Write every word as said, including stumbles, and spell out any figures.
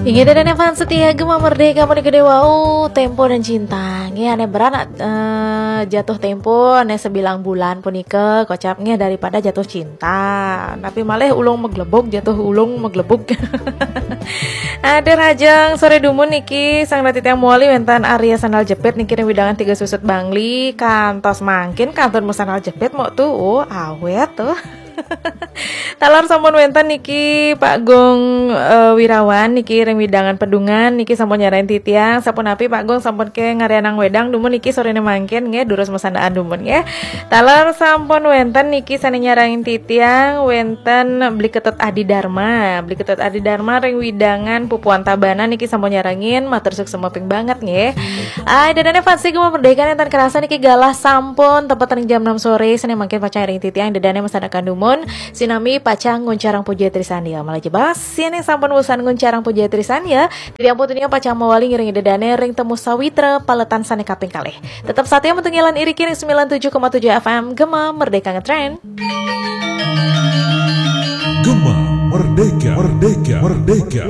Inggih, ida dané fans setia Gema Merdeka punika dewa, oh, tempo dan cinta. Nggih, ané berat, eh, jatuh tempo, ané sebilang bulan punika kocap nggih daripada jatuh cinta. Tapi malih ulung meglebug, jatuh ulung meglebug. Ada rajang sore dumun niki, sang rati tiang muali wénten Arya Sandal Jepit niki ring wewidangan Tiga Susut Bangli, kantos mangkin kantun sandal jepit mok tu, oh, awet tuh. Taler sampun wénten niki Pak Gung, eh, Wirawan niki ring wewidangan Pedungan niki sampun nyarengin titiang. Sapunapi Pak Gung, sampun ké ngarianang wedang dumun niki soréné mangkin nggih, durus masandaan dumun nggih. Taler sampun wénten niki sané nyarengin titiang, wénten Bli Ketut Adi Dharma. Bli Ketut Adi Dharma ring wewidangan Pupuan Tabanan niki sampun nyarengin, matur suksma ping banget nggih. Ah, ida dané fans Gema Merdeka nénten kerasa niki galah sampun tepet ring jam enam sore, sané mangkin pacang ring titiang ida dané masandaan dumun. Sinami pacang nguncarang puja trisandya. Malih jebos, sané sampun wusan nguncarang puja trisandya, titiang Putu Nia pacang mawali ngiring ida dané ring Temu Sawitra paletan sané kaping kalih. Tetep satia mantuk ngiring iriki ring sembilan tujuh koma tujuh F M Gema Merdeka Ngetrend. Gema Merdeka, Merdeka, Merdeka.